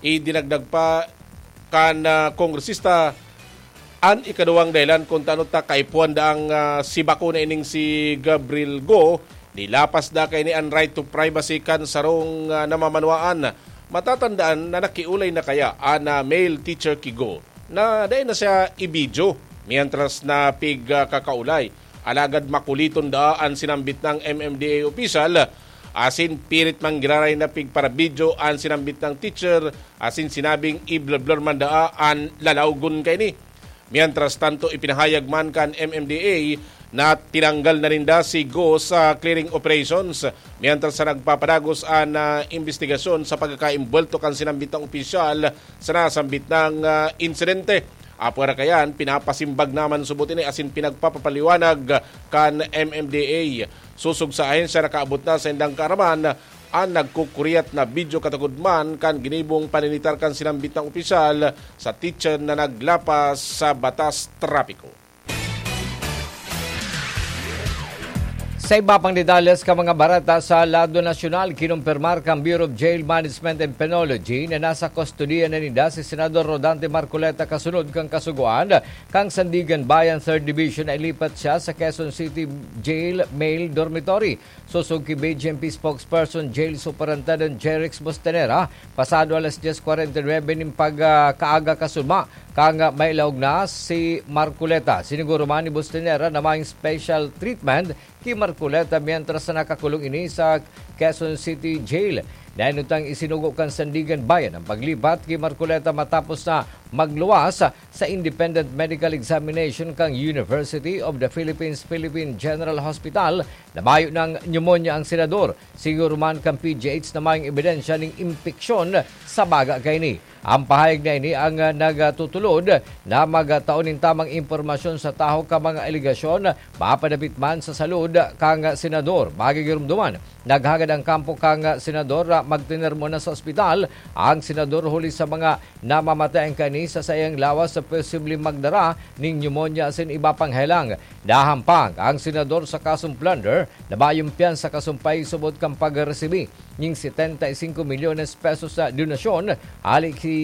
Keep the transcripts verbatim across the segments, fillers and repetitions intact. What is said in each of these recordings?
Idinagdag pa kan, ah, kongresista an ikaduwang dahilan kun tano ta kaipuhan daang, ah, si bako na ining si Gabriel Go, nilapas da kaini an right to privacy kan sarong, ah, namamanwaan. Matatandaan na nakiolay na kaya an, ah, male teacher ki Go na dai na siya i-video, mientras na pig, ah, kakaolay. Alagad makuliton daa an sinambit ng M M D A opisyal, asin pirit manggiraray na pigpara-video an sinambit ng teacher, asin sinabing i-blur-blur man daa an lalawgon kaini. Mientras tanto, ipinahayag man kan M M D A na tinanggal na ninda si Go sa clearing operations, mientras sa nagpapadagos an, ah, imbestigasyon sa pagkakaimbwelto kan sinambit ng opisyal sa nasambit ng, ah, insidente. Apwera kayan, pinapasimbag naman subot ini asin pinagpapapaliwanag kan M M D A. Sosog sa ahensya, nakaabot na sa indang kaaraman an nagkukuriyat na video katagod man kan ginibong paninitar kan sinambit na opisyal sa teacher na naglapas sa batas trapiko. Sa iba pang detalles kan mga bareta sa lado nasyonal, kinumpirmar kan Bureau of Jail Management and Penology na nasa kustodiya na ninda si Senador Rodante Marcoleta kasunod kan kasugoan kan Sandiganbayan Third Division na ilipat siya sa Quezon City Jail Male Dormitory. Sosog ki B J M P spokesperson Jail Superintendent Jerix Bostanera, pasado alas dyes kwarenta y nuebe nin pagkaaga kasunma, kan may laog na si Marcoleta. Siniguro man ni Bostanera na may special treatment ki Marcoleta mientras na nakakulong ini sa Quezon City Jail. Nainutang isinugo kan Sandiganbayan ang paglipat ki Marcoleta matapos na magluwas sa independent medical examination kan University of the Philippines Philippine General Hospital na mayo nang pneumonia ang senador. Siguro man kan P G H na mayong ebidensya ning impeksyon sa baga kaini. Ang pahayag na ini ang, ah, nagtutulod na magtao nin tamang impormasyon sa tahaw kan mga alegasyon mapadapit man sa salud kan senador. Magigiromdoman, naghagad ang kampo kan senador na magtener muna sa ospital ang senador huli sa mga namamatay ang kaini sa saiyang lawas sa posibleng magdara nin pneumonia asin iba pang helang. Nahampang ang senador sa kasong plunder na mayong piyansa kasumpay subot kan pagresibi nin setenta y cinco milyones pesos na donasyon hali ki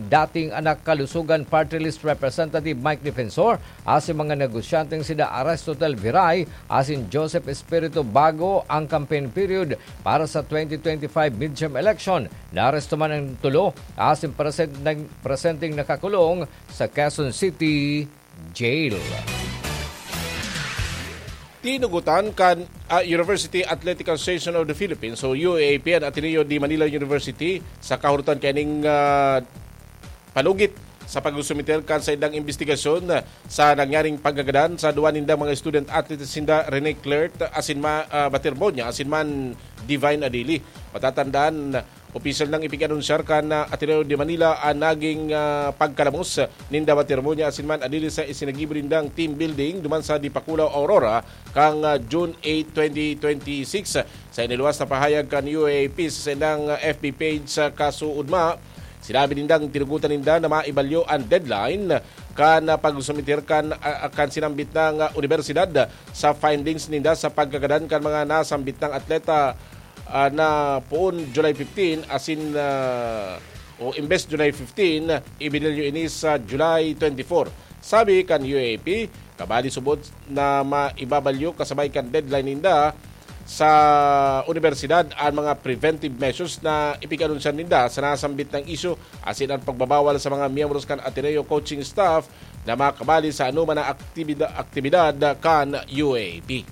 dating Anak Kalusugan Party List Representative Mike Defensor asin mga negosyanteng sida Aristotel Viray asin Joseph Espiritu bago ang campaign period para sa twenty twenty-five midterm election. Naaresto man ang tulo asin present-, presenteng nakakulong sa Quezon City Jail. Tinugutan kan, ah, University Athletic Association of the Philippines o U A P an Ateneo de Manila University sa kahurutan kaining, ah, palugit sa pag-sumiter kan saindang imbestigasyon sa nangyaring pagkagadan sa duwa nindang mga student athletes, sinda Rene Clert asin ma-, ah, Batermonia asin man Divine Adili. Matatandaan, opisyal nang ipig-anunsyar kan, ah, Ateneo de Manila an naging, ah, pagkalamos ninda Batermonia asin man Adili sa isinagibo nindang team building duman sa Dipakulaw, Aurora, kan, ah, June eight, twenty twenty-six. Sa iniluwas na pahayag kan U A P sa saindang, ah, F B page sa kasuodma, sinabi nindang tinugutan ninda na maibalyo an deadline kan, ah, pag-sumiter kan, ah, kan sinambit na, ah, unibersidad sa findings ninda sa pagkagadan kan mga nasambit nang atleta, ah, na poon July fifteen, asin, ah, o imbes July fifteen, ibinilyo ini sa July twenty-four. Sabi kan U A P, kabali subot na maibabalyo kasabay kan deadline ninda sa unibersidad an mga preventive measures na ipig-anunsyan ninda sa nasambit na isyu, asin an pagbabawal sa mga miyembros kan Ateneo coaching staff na makabali sa anoman na aktibida-, aktibidad kan U A P.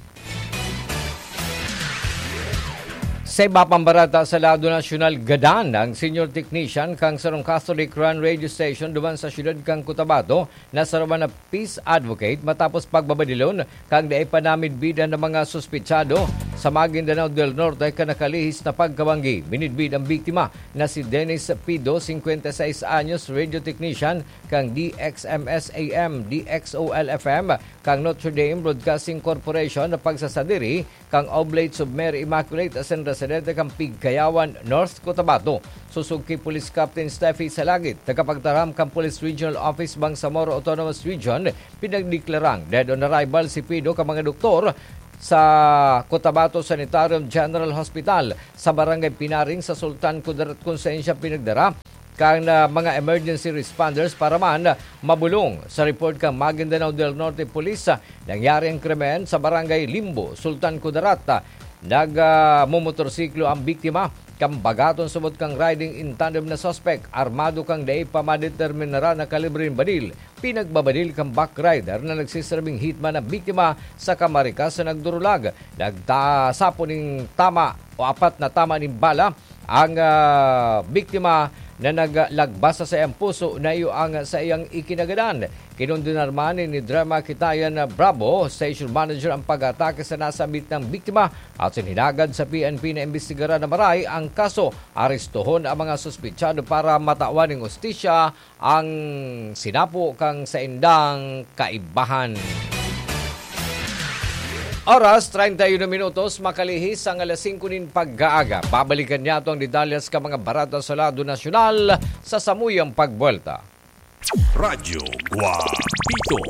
Sa iba pang bareta sa lado nasyonal, gadan ang senior technician kan sarong Catholic-run radio station duman sa siyudad kan Cotabato na saro man na peace advocate matapos pagbabadilon kan dai pa namidbidan na mga suspetsado sa Maguindanao del Norte kan nakalihis na pagkabanggi. Minidbid ang biktima na si Dennis Pido, singkwenta y seis anyos, radio technician kan D X M S A M, D X O L F M, kan Notre Dame Broadcasting Corporation na pagsasadiri kan Oblate of Mary Immaculate asin residente kan Pigkayawan, North Cotabato. Sosog ki Police Captain Steffi Salagit, tagapagtaram kan Police Regional Office Bangsamoro Autonomous Region, pinagdeklarang dead on arrival si Pido kan mga doktor sa Cotabato Sanitarium General Hospital sa Barangay Pinaring sa Sultan Kudarat, kun saen siya pinagdara kan, ah, mga emergency responders para man mabulong. Sa report kan Maguindanao del Norte Police, ah, nangyari ang krimen sa Barangay Limbo, Sultan Kudarat. Nag, ah, momotorsiklo ang biktima. Kan bagaton subot kan riding in tandem na suspek, armado kan dai pa madeterminara na kalibre nin baril. Pinagbabadil kan backrider na nagsasabing hitman ang biktima sa kamarikas na nagdurulag. Nagtasapo nin tama o apat na tama nin bala ang, ah, biktima na naglagbas sa saiyang puso na iyo ang saiyang ikinagadan. Kinondenar man ni Drema Kitayan Bravo, station manager, ang pag-atake sa nasambit na biktima at sinhinagad sa P N P na imbestigaran na maray ang kaso. Arestohon ang mga suspetsado para matawan ning hustisya ang sinapo kan saindang kaibahan. Oras, treinta y uno minutos, makalihis ang alas singko nin pag-aaga. Babalikan niyato ang detalyes kan mga barata sa lado nasyonal sa samuyang pagbuwelta. Radyo Guapito.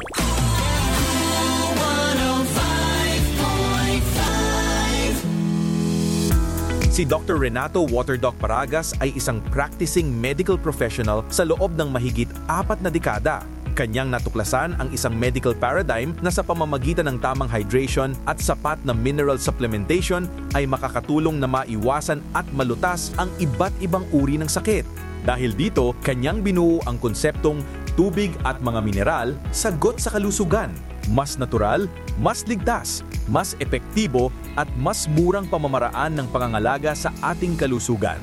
Si Doktor Renato Waterdoc Paragas ay isang practicing medical professional sa loob ng mahigit apat na dekada. Kanyang natuklasan ang isang medical paradigm na sa pamamagitan ng tamang hydration at sapat na mineral supplementation ay makakatulong na maiwasan at malutas ang iba't ibang uri ng sakit. Dahil dito, kanyang binuo ang konseptong tubig at mga mineral, sagot sa kalusugan. Mas natural, mas ligtas, mas epektibo, at mas murang pamamaraan ng pangangalaga sa ating kalusugan.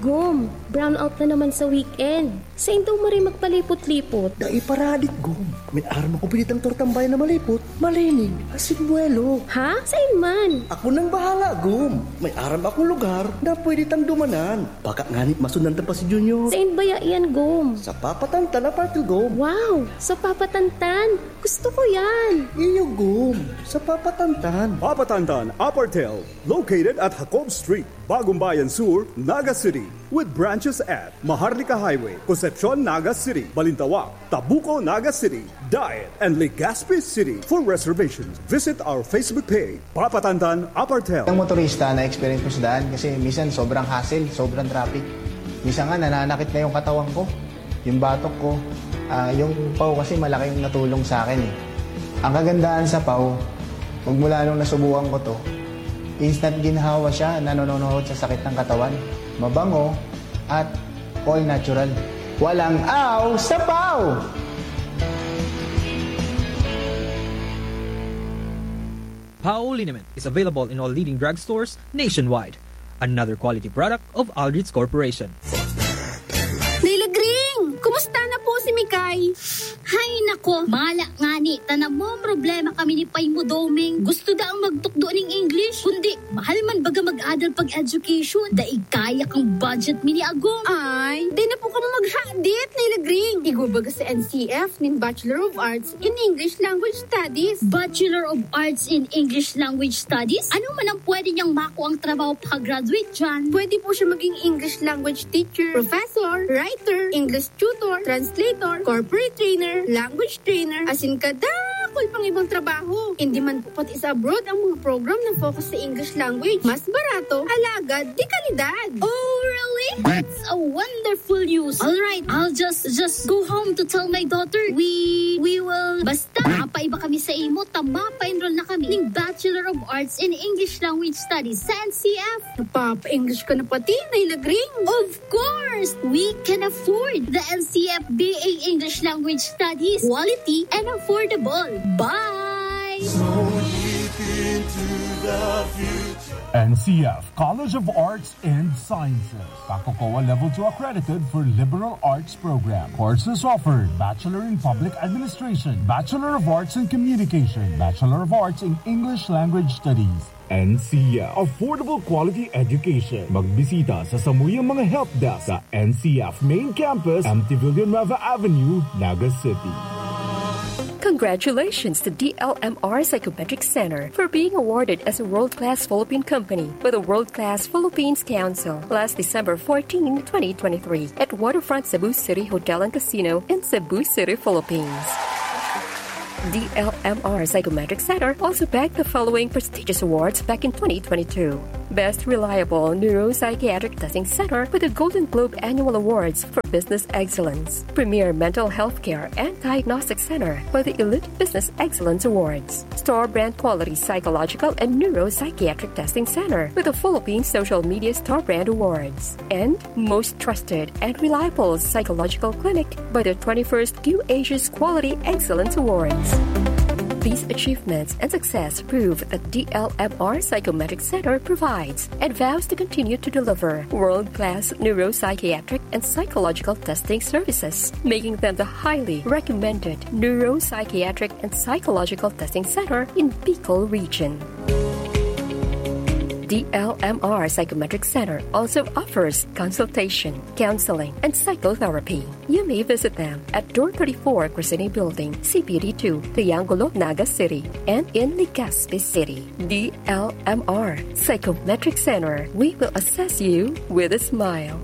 Gum, brownout na naman sa weekend. Sain daw maray magpalipot-lipot? Dai pa radik, Gum. May aram ako pinitang tortang bayan na malipot, malinig, asin buwelo. Ha? Sain man? Ako nang bahala, Gum. May aram akong lugar na pwede tang dumanan. Baka ngani masundan ta pa si Junior. Sain baya yan, Gum? Sa Papatantan Apartel, Gum. Wow! Sa Papatantan? Gusto ko yan! Iyo, Gum. Sa Papatantan. Papatantan Apartel, located at Jacob Street, Bagong Bayan Sur, Naga City, with branches at Maharlika Highway, Concepcion, Naga City, Balintawak, Tabuco, Naga City, Daet, and Legazpi City. For reservations, visit our Facebook page, Papatantan Apartel. Ang motorista na experience ko sa daan kasi minsan sobrang hassle, sobrang traffic. Minsan nga nananakit na yung katawan ko, yung batok ko. Ah, yung paw kasi malaking natulong sa akin eh. Ang kagandahan sa paw, magmula nung nasubukan ko to, instant ginhawa siya, nanononohod sa sakit ng katawan. Mabango at all natural. Walang aw sa paw! Pao liniment is available in all leading drugstores nationwide. Another quality product of Aldrich Corporation. Nilagring! Kumusta na po si Mikay? Hay nako, mala ngani, ta namomroblema kami ni Pay mo, Doming. Gusto daang magtukdo ning English, kundi mahal man baga mag-adal pag-education. Dai kaya kang budget mi ni Agom. Ay, di na po kamo maghadit, Nilagring. Igwa baga sa N C F nin Bachelor of Arts in English Language Studies. Bachelor of Arts in English Language Studies? Ano man ang pwede niyang makuang trabaho pag-graduate dyan? Pwede po siya maging English language teacher, professor, writer, English tutor, translator, corporate trainer, language trainer, asin kadakul pang ibang trabaho. Hindi man po pati sa abroad ang mga program na focus sa English language. Mas barato, alagad, de kalidad. Oh, really? That's a wonderful news. All right, I'll just, just go home to tell my daughter. We, we will, basta, mapaiba kami sa imo, ta mapa-enroll na kami ning Bachelor of Arts in English Language Studies sa N C F. Napapa-English ka na pati, Nilagring? Of course! We can afford the N C F B A English Language Studies. Quality and affordable. Bye! N C F College of Arts and Sciences. Kakokowa Level two accredited for liberal arts program. Courses offered: Bachelor in Public Administration, Bachelor of Arts in Communication, Bachelor of Arts in English Language Studies. N C F, affordable quality education. Magbisita sa samuyang mga help desk sa N C F Main Campus, M T Villanueva Avenue, Naga City. Congratulations to D L M R Psychometric Center for being awarded as a world-class Philippine company by the World Class Philippines Council last December fourteen, twenty twenty-three, at Waterfront Cebu City Hotel and Casino in Cebu City, Philippines. D L M R Psychometric Center also bagged the following prestigious awards back in twenty twenty-two: Best reliable neuropsychiatric testing center with the Golden Globe Annual Awards for Business Excellence. Premier mental health care and diagnostic center with the Elite Business Excellence Awards. Star brand quality psychological and neuropsychiatric testing center with the Philippine Social Media Star Brand Awards. And most trusted and reliable psychological clinic by the twenty-first Q Asia's Quality Excellence Awards. These achievements and success prove that D L M R Psychometric Center provides and vows to continue to deliver world-class neuropsychiatric and psychological testing services, making them the highly recommended neuropsychiatric and psychological testing center in Bicol region. D L M R Psychometric Center also offers consultation, counseling, and psychotherapy. You may visit them at Door thirty-four, Crescene Building, C P D two, Triangulo, Naga City, and in Legazpi City. D L M R Psychometric Center, we will assess you with a smile.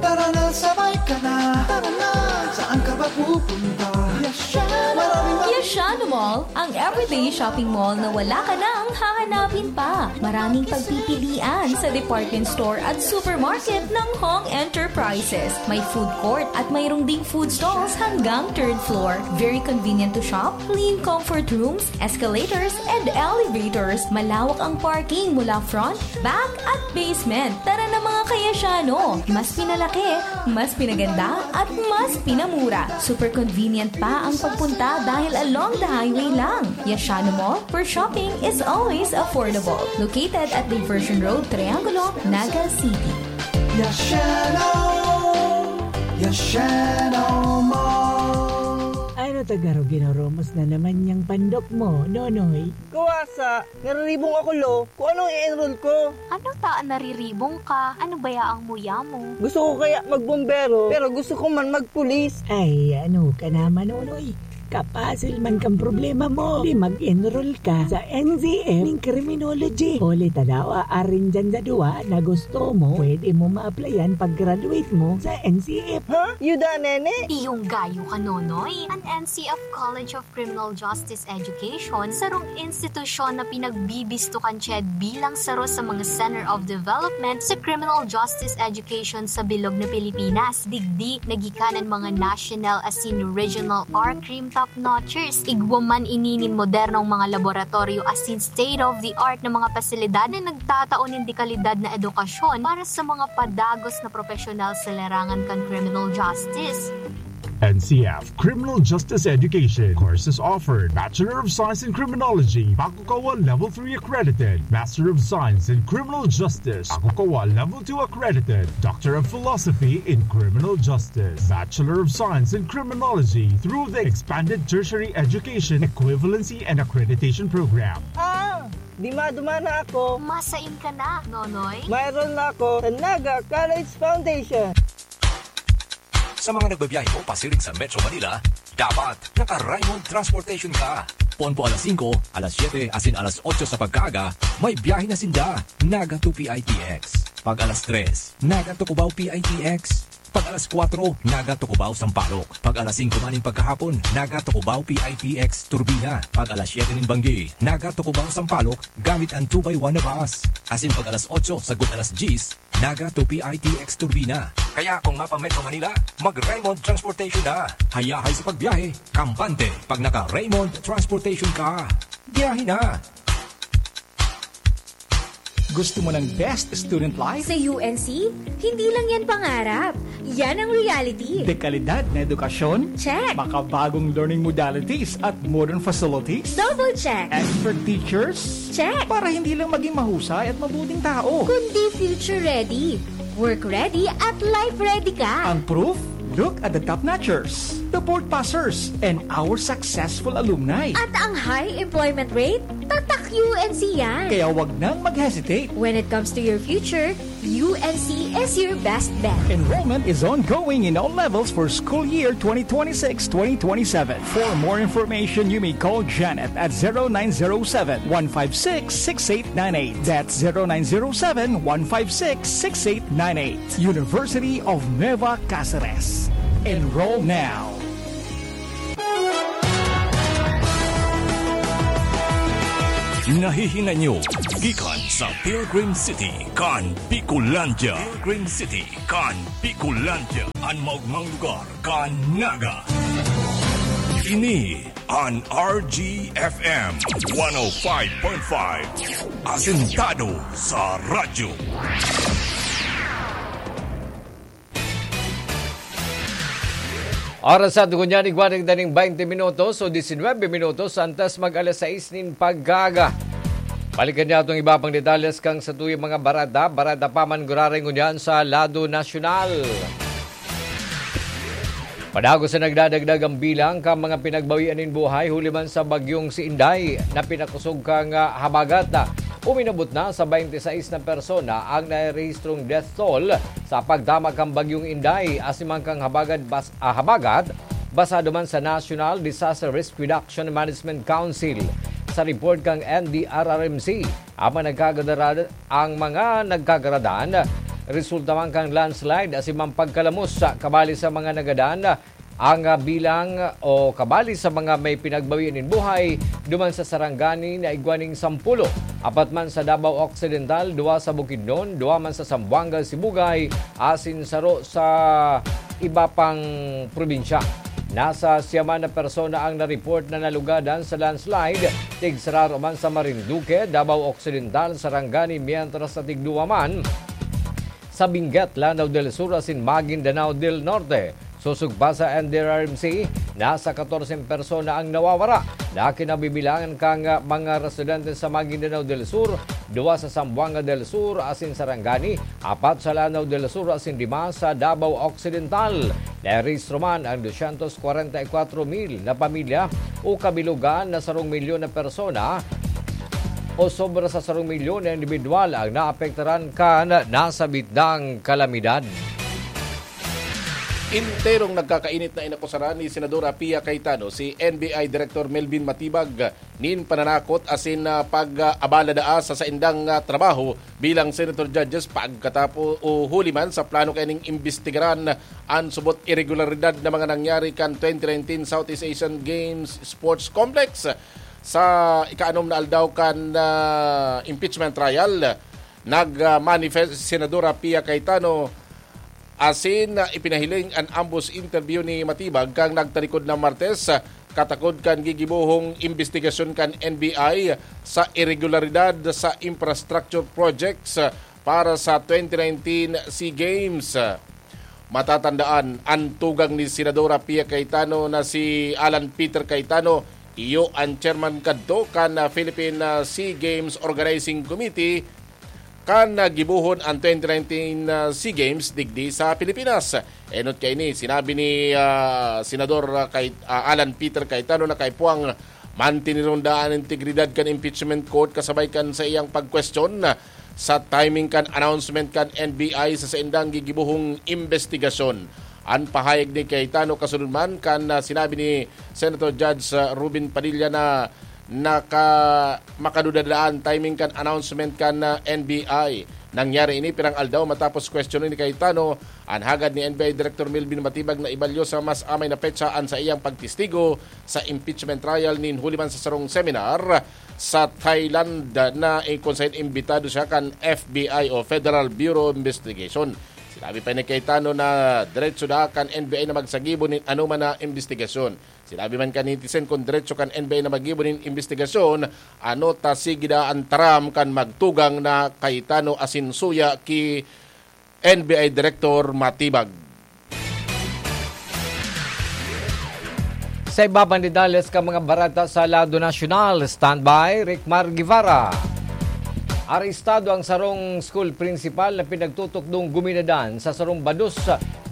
Tara na, sabay ka na. Tara na, saan ka ba pupunta? Yasha! Maraming mga Yashano Mall, ang everyday shopping mall na wala ka nang hahanapin pa. Maraming pagpipilian sa department store at supermarket ng Hong Enterprises. May food court at mayroong ding food stalls hanggang third floor. Very convenient to shop, clean comfort rooms, escalators, and elevators. Malawak ang parking mula front, back, at basement. Tara na, mga Kayasyano! Mas pinalaki, mas pinaganda, at mas pinamura. Super convenient pa ang pagpunta dahil along the highway lang. Yashano Mall, where shopping is always affordable. Located at Diversion Road, Triangulo, Naga City. Yashano! Yashano Mall! Ano ta garo ginoromos na naman niyang pandok mo, Nonoy? Kawasa, nariribong ako, lo. Kung anong i-enroll ko. Ano ta an nariribong ka? Ano baya ang muya mo? Gusto ko kaya magbombero, pero gusto ko man magpulis. Ay, ano ka naman, Nonoy? Kapasil man kang problema mo. Di mag-enroll ka sa N C F ning criminology. Huli ta daw, aarin dyan sa duwa na gusto mo, pwede mo ma-applyan pag-graduate mo sa N C F. Ha? Yuda, nene? Iyong gayo ka, Nonoy. An N C F College of Criminal Justice Education, sarong institusyon na pinagbibisto kan CHED bilang saro sa mga Center of Development sa Criminal Justice Education sa bilog na Pilipinas. Digdi, nagikanan mga national asin regional or crime top-notchers. Igwa man ini nin modernong mga laboratoryo asin state-of-the-art na mga pasilidad na nagtatao nin dekalidad na edukasyon para sa mga padagos na propesyonal sa larangan kan criminal justice. N C F Criminal Justice Education. Courses offered: Bachelor of Science in Criminology, Bakukawa Level three accredited; Master of Science in Criminal Justice, Bakukawa Level two accredited; Doctor of Philosophy in Criminal Justice, Bachelor of Science in Criminology through the Expanded Tertiary Education Equivalency and Accreditation Program. Ah! Di maduma na ako. Masain ka na, Nonoy? Mayroon na ako sa Naga College Foundation. Sa mga nagbabiyahe po pasiring sa Metro Manila, dapat naka-Raymond Transportation ka. Ponpo alas singko, alas siyete, asin alas otso sa pagkaaga, may biyahe na sinda, Naga to P I T X. Pag alas tres, Naga to Cubao P I T X. Pag alas kwatro, Naga to Cubao Sampaloc. Pag alas singko maning pagkahapon, Naga to Cubao P I T X Turbina. Pag alas siyete nin banggi, Naga to Cubao Sampaloc, gamit ang two by one na bus. Asin pag alas otso sagkod alas dyes, Naga to P I T X Turbina. Kaya kung mapa-Metro Manila, mag-Raymond Transportation na. Hayahay sa pagbiyahe, kampante pag naka-Raymond Transportation ka. Biyahe na! Gusto mo ng best student life? Sa U N C, hindi lang yan pangarap. Yan ang reality. Dekalidad na edukasyon? Check. Makabagong learning modalities at modern facilities? Double check. Expert teachers? Check. Para hindi lang maging mahusay at mabuting tao. Kundi future ready, work ready, at life ready ka. Ang proof? Look at the top notchers, the board passers, and our successful alumni. At ang high employment rate? Tatak U N C yan. Kaya wag nang mag-hesitate. When it comes to your future, U N C is your best bet. Enrollment is ongoing in all levels for school year twenty twenty-six twenty twenty-seven. For more information, you may call Janet at zero nine zero seven, one five six, six eight nine eight. That's zero nine zero seven, one five six, six eight nine eight. University of Nueva Caceres. Enroll now. Nahihinanyo gikan sa Pilgrim City kan Bicolandia. Pilgrim City kan Bicolandia. An maogmang lugar kan Naga. Ini an R G F M one oh five point five. Asentado sa radyo. Oras sa tugon niya, igwa ning daning twenty minutos o diecinuebe minutos antes mag alas sais nin pagkaaga. Balikan niya itong iba pang detalles kan satuyang mga bareta. Bareta pa man gurareng ngunyan sa lado nasyonal. Padagos na nagdadagdag ang bilang kan mga pinagbawian nin buhay huli man sa bagyong si Inday na pinakosog kan, ah, habagat. Uminabot na sa twenty sais na persona ang narehistrong death toll sa pagtama kan bagyong Inday asin man kan habagat bas-, ah, habagat, basado man sa National Disaster Risk Reduction Management Council. Sa report kan N D R R M C, ang mga nagkagaradan, ang mga nagkagaradan, resulta man kan landslide asin man pagkalamos sa kabali sa mga nagadan, ang, ah, bilang o kabali sa mga may pinagbawian nin buhay duman sa Sarangani na igwa ning sampulo, apat man sa Davao Occidental, duwa sa Bukidnon, duwa man sa Zamboanga, Sibugay, asin saro sa iba pang probinsya. Nasa siyaman na persona ang na-report na nalugadan sa landslide, tigsararo man sa Marinduque, Davao Occidental, Sarangani, mientras sa tigduwa man sa Benguet, Lanao del Sur asin Maguindanao del Norte. Sosog pa sa N D R R M C, nasa katorse persona ang nawawara na kinabibilangan kan mga residente sa Maguindanao del Sur, duwa sa Zamboanga del Sur asin Sarangani, apat sa Lanao del Sur asin lima sa Davao Occidental. Narehistro man ang dosyentos kwarenta y kwatro mil na pamilya o kabilugan na sarong milyon na persona o sobra sa sarong milyon na indibidwal ang naapektaran kan nasabit na kalamidad. Enterong nagkakainit na inakusaran ni Senadora Pia Cayetano si N B I Director Melvin Matibag nin pananakot asin, ah, pag-abala daa sa saindang, ah, trabaho bilang senator judges pagkatapo-, o huli man sa plano kaining imbestigaran an subot irregularidad na mga nangyari kan twenty nineteen Southeast Asian Games Sports Complex. Sa ikaanom na aldaw kan, ah, impeachment trial, nag-, ah, manifest si Senadora Pia Cayetano asin, ah, ipinahiling an ambos interview ni Matibag kan nagtalikod na Martes, ah, katakod kan gigibohong imbestigasyon kan N B I sa irregularidad sa infrastructure projects, ah, para sa twenty nineteen SEA Games. Matatandaan, an tugang ni Senadora Pia Cayetano na si Alan Peter Cayetano, iyo an chairman kadto kan, ah, Philippine, ah, SEA Games Organizing Committee, kan, ah, gibohon an twenty nineteen, ah, SEA Games digdi sa Pilipinas. Enot kaini, sinabi ni, ah, Senador, ah, Cay-, ah, Alan Peter Cayetano na kaipuhan mantineron daa an integridad kan impeachment court kasabay kan saiyang pagkwestiyon sa timing kan announcement kan N B I sa saindang gigibohong imbestigasyon. An pahayag ni Cayetano kasunod man kan, ah, sinabi ni Senator Judge, ah, Robin Padilla na naka-, makaduda daa an timing kan announcement kan, ah, N B I. Nangyari ini pirang aldaw matapos kwestiyonon ni Cayetano an hagad ni N B I Director Melvin Matibag na ibalyo sa mas amay na petsa an saiyang pagtestigo sa impeachment trial nin huli man sa sarong seminar sa Thailand na, eh, kung saen imbitado siya kan F B I o Federal Bureau of Investigation. Sinabi pa ni Cayetano na diretso daa kan N B I na magsagibo nin anoman na imbestigasyon. Sinabi man kan netizen kun diretso kan N B I na maggibo nin imbestigasyon, ano ta sige daa an taram kan magtugang na Cayetano asin suya ki N B I Director Matibag. Sa iba pang detalles kan mga bareta sa lado nasyonal, standby, Rickmar Guevara. Arestado ang sarong school principal na pinagtutukdong guminadan sa sarong bados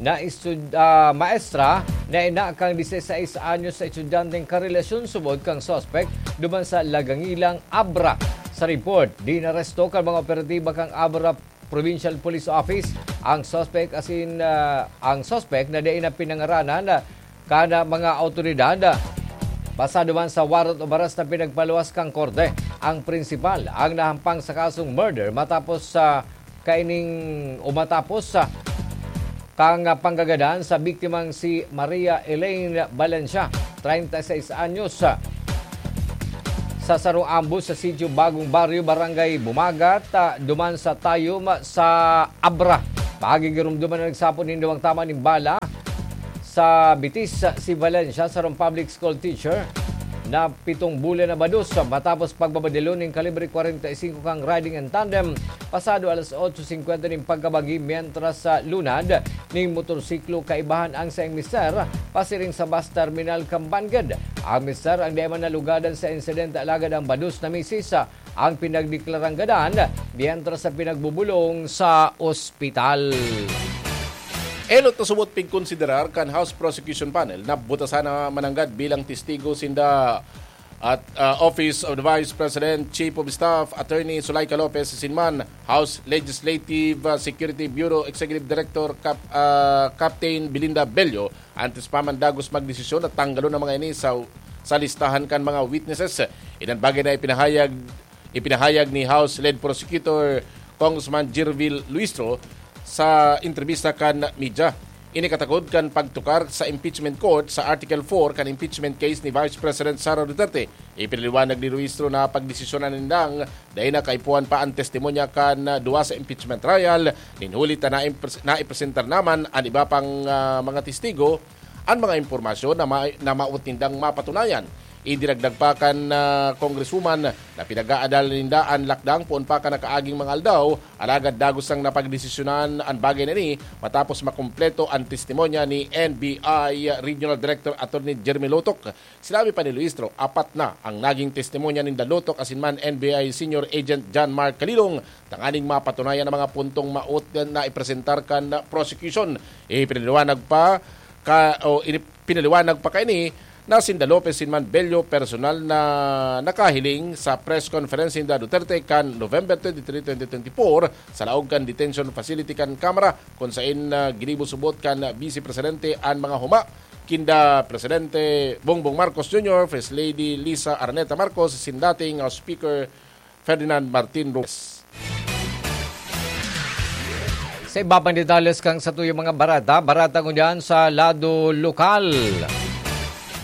na estud-, ah, maestra na ina kan dieciséis anyos sa estudyanteng karelasyon subod kan suspek duman sa Lagangilang, Abra. Sa report, dinaresto kan mga operatiba kan Abra Provincial Police Office ang suspek asin, ah, ang suspek na dai na pinangaranan, ah, kan mga awtoridad. Basado man sa warrant of arrest na pinagpaluwas kan korte, ang prinsipal ang nahampang sa kasong murder matapos sa kaining o matapos sa kang panggagadan sa biktimang si Maria Elaine Valencia, treinta y seis anyos. sa sarong ambos sa Sitio Bagong Baryo, Barangay Bumagat, ah, duman sa Tayum sa Abra. Magigirumduman na nagsapon nin duwang tama nin bala sa bitis si Valencia, sarong public school teacher na pitong bulan na bados matapos pagbabadilon nin kalibre kwarenta y singko kan riding in tandem pasado alas otso singkwenta nin pagkabagi, mientras sa lunad ning motorsiklo kaibahan ang saing mister pasiring sa bus terminal kan Bangged. Ang mister ang dai man nalugadan sa insidente, alagad ang bados na misis ang pinagdeklarang gadan, mientras sa pinagbubulong sa ospital. Enot na subot pigkonsiderar kan House Prosecution Panel na butasan na mananggad bilang testigo sinda at, ah, Office of the Vice President, Chief of Staff, Attorney Zuleika Lopez, asin man House Legislative, ah, Security Bureau Executive Director Cap-, ah, Captain Belinda Bello, antes pa man dagos magdesisyon na tanggalon ang mga ini sa, sa listahan kan mga witnesses. Iyan bagay na ipinahayag, ipinahayag ni House Lead Prosecutor Congressman Jervil Luistro sa entrebista kan media. Ini katakod kan pagtukar sa impeachment court sa Article four kan impeachment case ni Vice President Sara Duterte. Ipinaliwanag ni Luistro na pagdesisyonan nindang dai na kaipuhan pa an testimonya kan duwa sa impeachment trial, nin huli ta naipres-, naipresentar naman an iba pang, ah, mga testigo an mga impormasyon na ma-, na maot nindang mapatunayan. Idinagdag pa kan, ah, Congresswoman na pinag-aadalan ninda an lakdang poon pa kan nakaaging mga aldaw, alagad dagos nang napagdesisyonan an bagay na ini matapos makumpleto an testimonya ni N B I Regional Director Attorney Jeremy Lotok. Sinabi pa ni Luistro, apat na ang naging testimonya ninda Lotok asin man N B I Senior Agent John Mark Kalilong tanganing mapatunayan ang mga puntong maot na ipresentar kan prosecution. Ipinaliwanag pa ka, o ini-, pinaliwanag pa kaini na sinda Lopez asin man Bello personal na nakahiling sa press conference ninda Duterte kan November twenty-three, twenty twenty-four, sa laog kan detention facility kan Kamara, kun saen, ah, ginibo subot kan Vice Presidente an mga huma kinda Presidente Bongbong Marcos Junior, First Lady Liza Araneta Marcos, asin dating, ah, Speaker Ferdinand Martin Romualdez. Sa iba pang detalles kan satuyang mga bareta, bareta ngunyan sa lado lokal.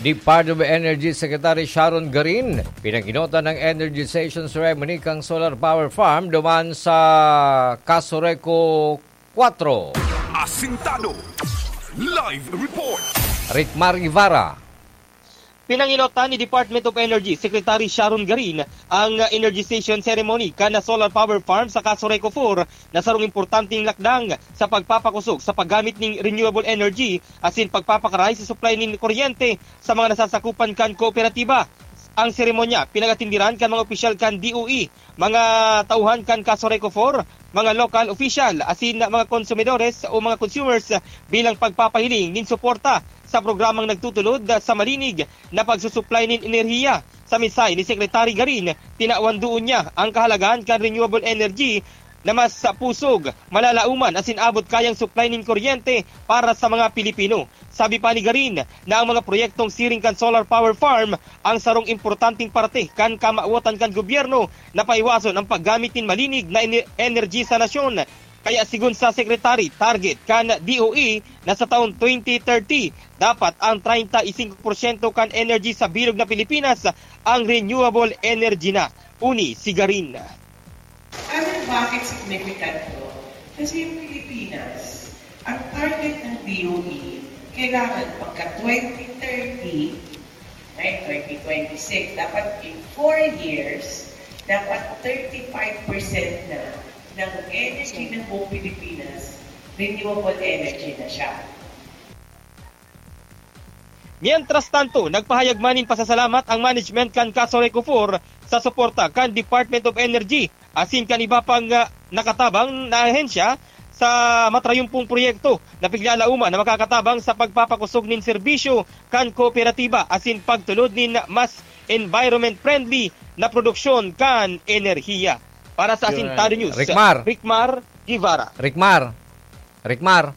Department of Energy Secretary Sharon Garin, pinanginotan ng energization ceremony kan solar power farm duman sa Casureco four. Asintado. Live report. Ricmar Guevara. Pinanginotan ni Department of Energy Secretary Sharon Garin ang energization ceremony kan solar power farm sa Casureco four, na sarong importanteng lakdang sa pagpapakosog sa paggamit ning renewable energy asin pagpapakaray sa supply nin kuryente sa mga nasasakupan kan kooperatiba. Ang seremonya pinag-atenderan kan mga opisyal kan D O E, mga tauhan kan Casureco four, mga local official, asin mga konsumidores o mga consumers bilang pagpapahiling nin suporta sa programang nagtutulod sa malinig na pagsusuplay nin enerhiya. Sa mensahe ni Secretary Garin, tinawan duon niya ang kahalagahan kan renewable energy na mas pusog, malalaoman asin abot kayang supply nin kuryente para sa mga Pilipino. Sabi pa ni Garin na ang mga proyektong siring kan solar power farm ang sarong importanteng parte kan kamawotan kan gobyerno na paiwason ang paggamit nin malinig na ener-, energy sa nasyon. Kaya sigon sa Secretary, target kan D O E na sa taon twenty thirty, dapat ang treinta y cinco porsyento kan energy sa bilog na Pilipinas ang renewable energy na. Uni si Garin. Alam mo bakit significant to? Kasi yung Pilipinas, ang target ng D O E, kailangan pagka twenty thirty, right, twenty twenty-six, dapat in four years, dapat thirty-five percent na ng energy ng buong Pilipinas, renewable energy na siya. Mientras tanto, nagpahayag man nin pasasalamat ang management kan Casureco four sa suporta kan Department of Energy asin kan iba pang, ah, nakatabang na ahensya sa matrayumpong proyekto na piglalauman na makakatabang sa pagpapakosog nin serbisyo kan kooperatiba asin pagtulod nin mas environment-friendly na produksyon kan enerhiya. Para sa Asintado News, Ricmar. Ricmar Guevara. Ricmar. Ricmar.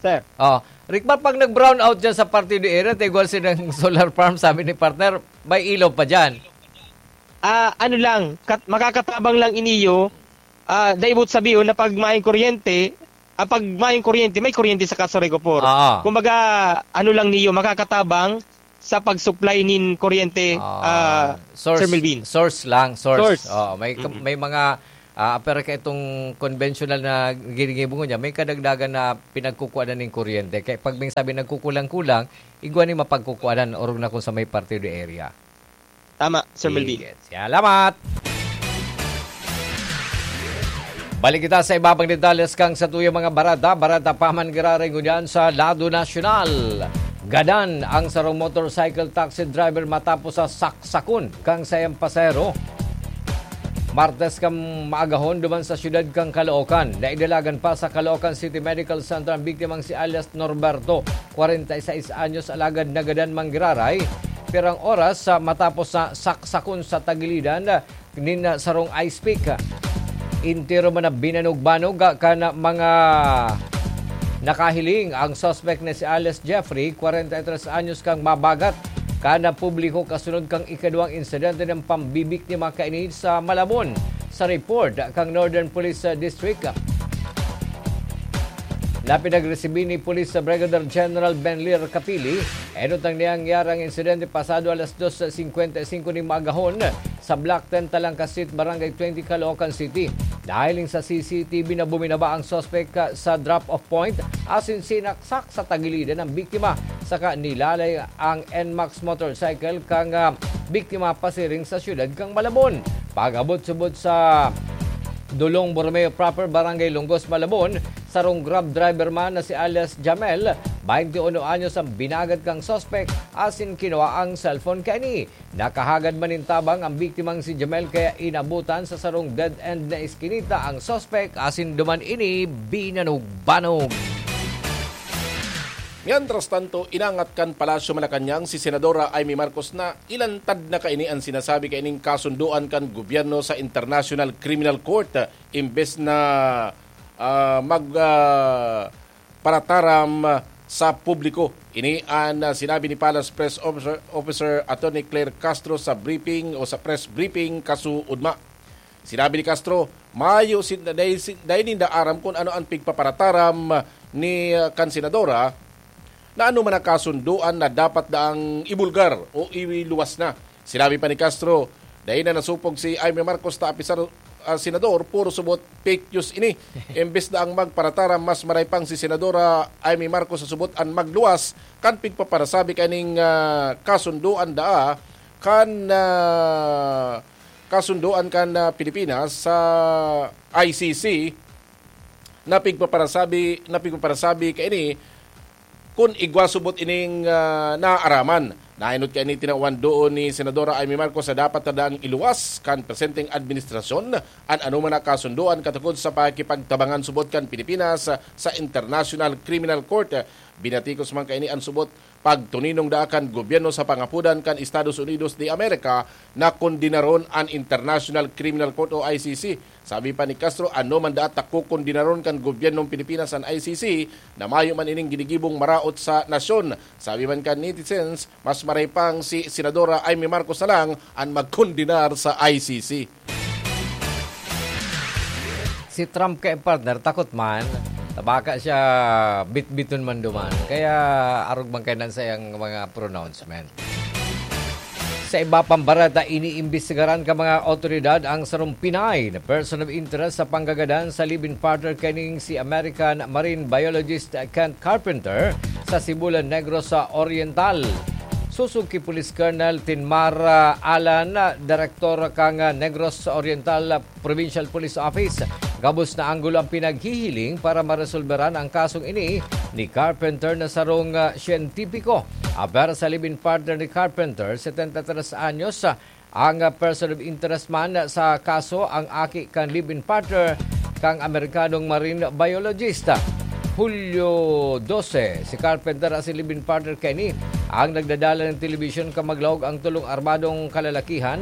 Sir. Oh, Ricmar, pag nag-brown out dyan sa Partido Area, tigwal silang solar farm, sabi ni partner, may ilaw pa dyan. Ah, ano lang, kat-, makakatabang lang iniyo, ah, daibot sabihon na pag maayong kuryente, ah, pag maayong kuryente, may kuryente sa Casureco four. Oo. Kumbaga, ano lang niyo, makakatabang, sa pag-supply nin kuryente, Ah, ah, source, Sir Melvin. Source lang, source. Source. Oo, may ka-, Mm-mm. may mga, ah, pero ka itong conventional na ginigibo niya, may kadagdagan na pinagkukuhanan nin kuryente. Kaya pag may sabi nagkukulang-kulang, igwa ni mapagkukuhanan, orog na kung sa may parte de area. Tama, Sir Melvin. Sige, salamat! Balik kita sa iba pang detalles kan satuyang mga bareta. Bareta pa man giraray ngunyan sa lado nasyonal. Gadan ang sarong motorcycle taxi driver matapos sa saksakon kan saiyang pasahero. Martes kan maagahon duman sa siyudad kan Caloocan. Naidalagan pa sa Caloocan City Medical Center ang biktimang si alias Norberto, kwarenta y seis anyos, alagad nagadan man giraray pirang oras sa matapos na saksakon sa tagilidan nin, ah, sarong ice pick. Entero man na binanugbanog, ah, kan mga nakahiling ang suspect na si alias Jeffrey, kwarenta y tres anyos, kan mabagat kan publiko kasunod kan ikaduwang insidente nin pambibiktima kaini sa Malabon, sa report kan Northern Police, ah, District. Na pinagresibi ni Police Brigadier General Benlir Capili, enot ang nangyari ang insidente pasado alas dos cincuenta y cinco nin maagahon sa Block ten, Talangka Street, Barangay twenty, Caloocan City. Nahiling sa C C T V na buminaba ang suspect, ah, sa drop-off point, asin sinaksak sa tagilidan ang biktima, saka nilalay ang N max motorcycle kan, ah, biktima pasiring sa siyudad kan Malabon. Pag-abot subot sa Dolong Borromeo Proper, Barangay Longos, Malabon, sarong Grab driver man na si alias Jamel, bainti uno anyos, ang binagat kan suspect, asin kinua ang cellphone kaini. Nakahagad man nin tabang ang biktimang si Jamel, kaya inabutan sa sarong dead-end na eskinita ang suspect, asin duman ini binanug-banug. Mientras tanto, inangat kan Palasyo Malacañang si Senadora Imee Marcos na ilantad na kaini an sinasabi kaining kasundoan kan gobyerno sa International Criminal Court, imbes na, ah, mag, ah, parataram sa publiko. Ini an, ah, sinabi ni Palace Press Officer, Officer Attorney Claire Castro sa briefing o sa press briefing kasuodma. Sinabi ni Castro, mayo sin-, dai sin-, dai ninda aram kun ano an pigpaparataram ni, ah, kan senadora na ano man ang kasundoan na dapat daang ibulgar o iluwas na. Sinabi pa ni Castro, dai na nasupog si Imee Marcos ta apisar, ah, senador, puro subot fake news ini. Imbes na ang magparataram, mas maray pang si Senadora Imee Marcos sa subot an magluwas kan pigpaparasabi kaning, ah, kasundoan daa kan, ah, kasundoan kan, ah, Pilipinas sa I C C na pigpaparasabi, na pigpaparasabi kaini kun igwa subot ining, ah, naaaraman. Naenot kaini tinawan doon ni Senadora Imee Marcos sa dapat na daang iluwas kan presenteng administrasyon an anoman na kasundoan katukod sa pakikipagtabangan subot kan Pilipinas sa International Criminal Court. Binatikos man kaini an subot pagtuninong daa kan gobyerno sa pangapodan kan Estados Unidos de America na kondenaron an International Criminal Court o I C C. Sabi pa ni Castro, ano man daat ta kokondenaron kan gobyernong Pilipinas an I C C na mayo man ining ginigibong maraot sa nasyon. Sabi man kan netizens, mas maray pang si Senadora Imee Marcos na lang an magkondenar sa I C C. Si Trump kay partner, takot man. Tabaka siya bitbiton man duman. Kaya arog man kainan sa iyang mga pronouncement. Sa iba pang bareta, iniimbestigaran kan mga awtoridad ang sarong Pinay na person of interest sa panggagadan sa live-in partner kaning si American marine biologist Kent Carpenter sa Sibulan Negros Oriental. Sosog ki Police Colonel Tinmar, ah, Alan, ah, direktor kan, ah, Negros Oriental, ah, Provincial Police Office. Gabos na anggulo ang pinaghihiling para maresolberan ang kasong ini ni Carpenter na sarong, ah, siyentipiko. Aber sa live-in partner ni Carpenter, setenta y tres anyos, ah, ang, ah, person of interest man sa kaso, ang aki kan live-in partner kang Amerikanong marine biologist. Hulyo dose, si Carpenter asin live-in partner kaini ang nagdadala nin telebisyon kan maglaog ang tolong armadong kalalakihan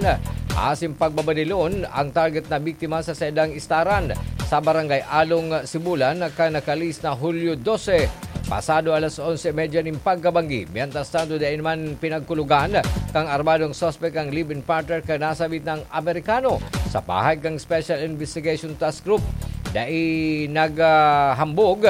asin pagbabanilon ang target na biktima sa saindang istaran sa Barangay Along, Sibulan, kan nakalihis na Hulyo dose, pasado alas onse y media nin pagkabanggi. Mientras tanto, dai naman pinagkulugan kan armadong suspek ang live-in partner kan nasabit na Amerikano. Sa pahayag kan Special Investigation Task Group, dai naghambog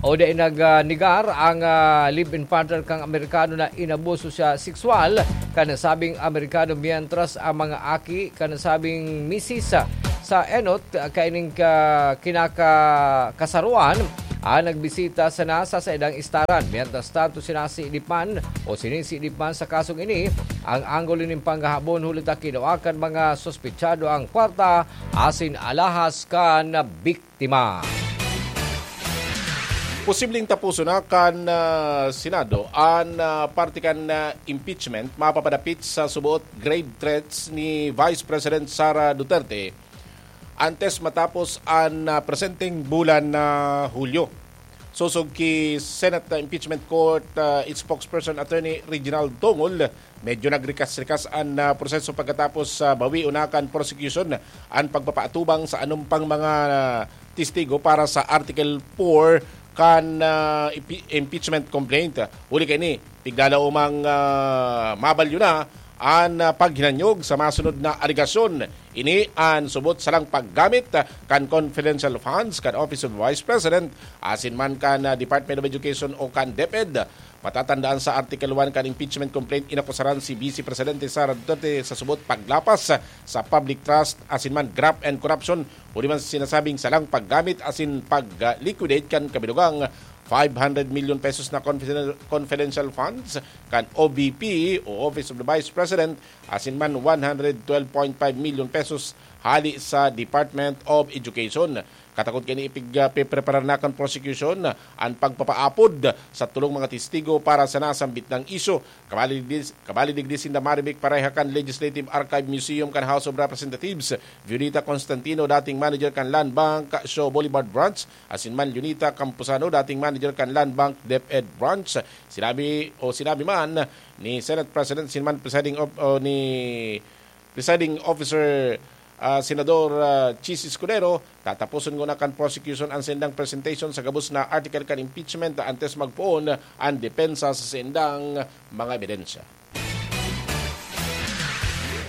o dai nag-, ah, negar ang, ah, live-in partner kan Amerikano na inabuso siya sexual kan nasabing Amerikano, mientras ang mga aki kan nasabing misis sa enot, ah, kaining ka-, kinaka-, kasaruan ang nagbisita sana sa saindang istaran. Mientras tanto, sinasidip man o sinisidip man sa kasong ini ang anggulo nin panghahabon, huli ta kinua kan mga suspetsado ang kwarta asin alahas kan biktima. Posibleng taposon na kan, ah, Senado an, ah, parte kan, ah, impeachment mapapadapit sa suboot grave threats ni Vice President Sara Duterte antes matapos an, ah, presenteng bulan na Hulyo. Sosog ki Senate Impeachment Court, ah, its spokesperson, Attorney Reginald Tongol, medyo nagrikas-rikas an, ah, proseso pagkatapos sa bawi o nakan prosecution an pagpapaatubang sa anong pang mga, ah, testigo para sa Article four kan, ah, impi-, impeachment complaint. Huli kaini, pigdalaw mang, ah, mabalyo na an, ah, paghinanyog sa masunod na alegasyon. Ini an subot salang paggamit, ah, kan confidential funds kan Office of Vice President asin man kan, ah, Department of Education o kan DepEd. Matatandaan, sa Article one kan impeachment complaint, inakusaran si Vice Presidente Sara Duterte sa subot paglapas sa public trust asin man graft and corruption, huli man sa sinasabing salang paggamit asin pag-liquidate kan kabilugang five hundred million pesos na confiden-, confidential funds kan O V P o Office of the Vice President asin man one hundred twelve point five million pesos hali sa Department of Education. Katakod kaini ipig-, ah, pepreparar na kan prosecution an pagpapaapod sa tolong mga testigo para sa nasambit na isyu. Kabali digdi, kabali digdi sinda Marivic Pareja kan Legislative Archive Museum kan House of Representatives, Violeta Constantino, dating manager kan Land Bank Shaw Boulevard Branch, asin man Leonita Camposano, dating manager kan Land Bank DepEd Branch. Sinabi o sinabi man ni Senate President, asin man presiding of, o ni Presiding Officer, ah, Senador, ah, Chiz Escudero, tataposon ngona kan prosecution an saindang presentation sa gabos na article kan impeachment antes magpoon an depensa sa saindang mga ebidensya.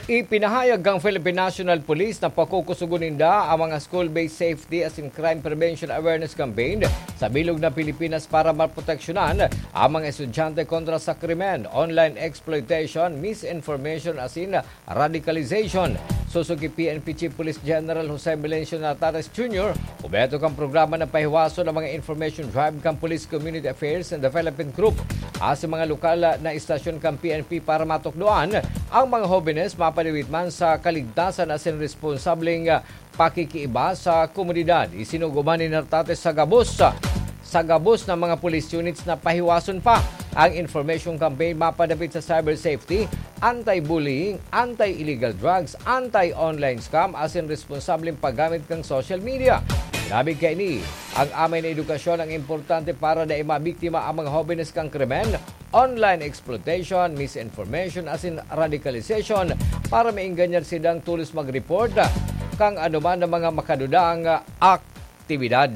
Ipinahayag kan Philippine National Police na pakukusogon ninda ang mga school-based safety asin crime prevention awareness campaign sa bilog na Pilipinas para maproteksyonan ang mga estudyante kontra sa krimen, online exploitation, misinformation asin radicalization. Sosog ki P N P Chief Police General Jose Melencio Nartates Junior, obheto kan programa na pahiwason ang mga information drive kan Police Community Affairs and Development Group asin mga lokal na istasyon kan P N P para matukdoan ang mga hobenes mapadawit man sa kaligtasan asin responsableng pakikiiba sa komunidad. Isinugo man ni Nartates sa gabos, sa gabos na mga police units na pahiwason pa ang information campaign mapadapit sa cyber safety, anti-bullying, anti-illegal drugs, anti-online scam, asin responsableng paggamit kan social media. Grabe kaini, ang amay na edukasyon ang importante para dai mabiktima ang mga hobenes kan krimen, online exploitation, misinformation, asin radicalization para maenganyar sindang tolos mag-report kan anoman na mga makadudang aktibidad.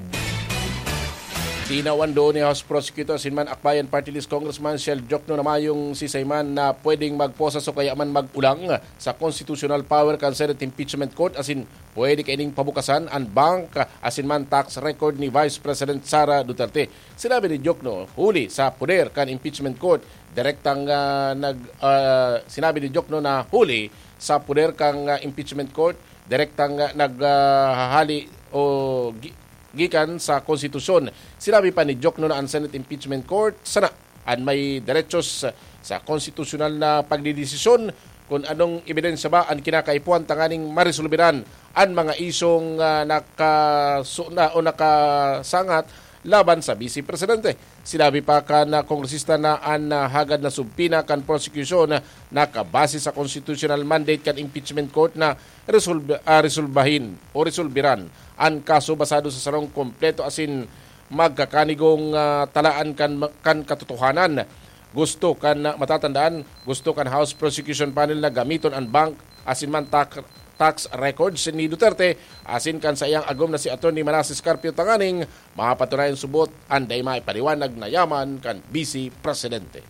Tinawan doon ni House Prosecutor asin man Akbayan Party List Congressman Shell Diokno na mayong sisay man na pwedeng magposas o kaya man mag-ulang sa constitutional power kan Senate Impeachment Court asin pwede kaining pabukasan an bank asin man tax record ni Vice President Sara Duterte. Sinabi ni Diokno, huli sa poder kan impeachment court, direktang, ah, nag-, ah, sinabi ni Diokno na huli sa poder kan, ah, impeachment court, direktang, ah, nag, ah, hahali o gi-, gikan sa konstitusyon. Sinabi pa ni Diokno na ang Senate Impeachment Court sana an may derechos sa konstitusyonal na pagdedesisyon kun anong ebidensya ba an kinakaipuhan tanganing maresolberan an mga isyung, ah, nakasu-, na o nakasangat laban sa Vice Presidente. Sinabi pa kan, ah, kongresista na an, ah, hagad na subpoena kan prosecution nakabase sa constitutional mandate kan impeachment court na resolb-, ah, resolbahin o resolberan an kaso basado sa sarong kompleto asin magkakanigong, ah, talaan kan, kan katotohanan. Gusto kan, ah, matatandaan, gusto kan House Prosecution Panel na gamiton an bank asin man tak-, tax records ni Duterte asin kan saiyang agom na si Attorney Manases Carpio tanganing mapatunayan subot an dai maipaliwanag na yaman kan Vice Presidente.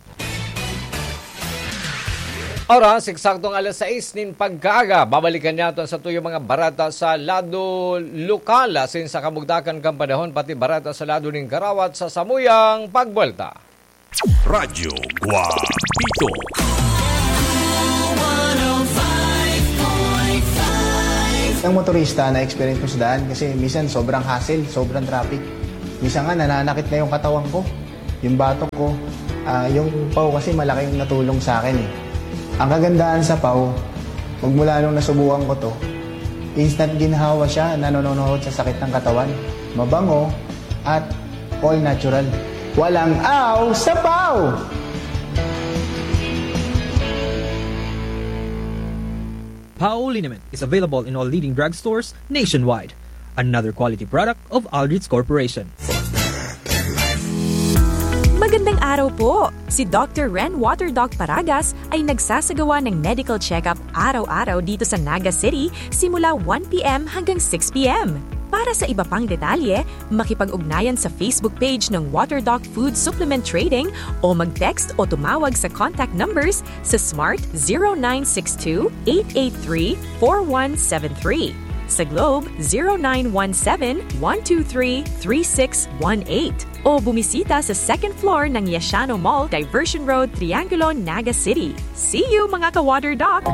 Oras, eksaktong alas sais nin pagkaaga. Babalikan niyato sa tuyong mga bareta sa lado lokal, asin sa kabugtakan kan panahon, pati bareta sa lado nin karawat sa samuyang pagbuwelta. Radyo Guapito. Ang motorista na-experience ko sa daan kasi minsan sobrang hassle, sobrang traffic. Minsan nga nananakit na yung katawan ko, yung batok ko. Ah, yung pau kasi malaki yung natulong sa akin eh. Ang kagandahan sa pau, magmula nung nasubukan ko to, instant ginhawa siya, nanononohod sa sakit ng katawan. Mabango at all natural. Walang aw sa pau! Pao liniment is available in all leading drugstores nationwide. Another quality product of Aldrich Corporation. Magandang araw po! Si Doctor Ren Water Doc Paragas ay nagsasagawa ng medical check-up araw-araw dito sa Naga City simula one p.m. hanggang six p.m. Para sa iba pang detalye, makipag-ugnayan sa Facebook page ng Water Doc Food Supplement Trading o mag-text o tumawag sa contact numbers sa Smart zero nine six two eight eight three four one seven three, sa Globe zero nine one seven one two three three six one eight o bumisita sa second floor ng Yashano Mall, Diversion Road, Triangulo, Naga City. See you, mga ka-Water Doc!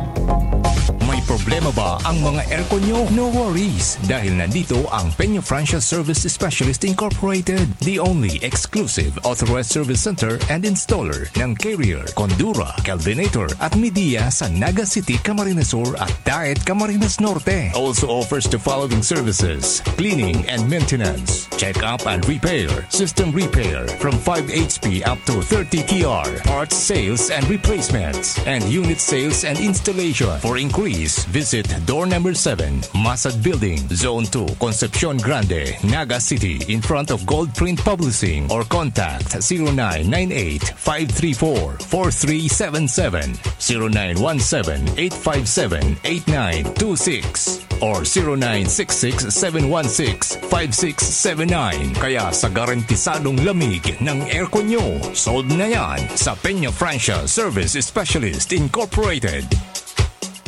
May problema ba ang mga aircon nyo? No worries, dahil nandito ang Peña Francia Service Specialist Incorporated, the only exclusive authorized service center and installer ng Carrier, Condura, Kelvinator at Midea sa Naga City, Camarines Sur at Daet, Camarines Norte. Also offers the following services: cleaning and maintenance, check-up and repair, system repair from five H P up to thirty T R, parts sales and replacements, and unit sales and installation. For inquiries, visit door number seven, Masad Building, Zone two, Concepcion Grande, Naga City, in front of Gold Print Publishing, or contact zero nine nine eight five three four four three seven seven, zero nine one seven eight five seven eight nine two six, or zero nine six six seven one six five six seven nine. Kaya sa garantisadong lamig ng aircon nyo, sold na yan sa Peña Francia Service Specialist Incorporated.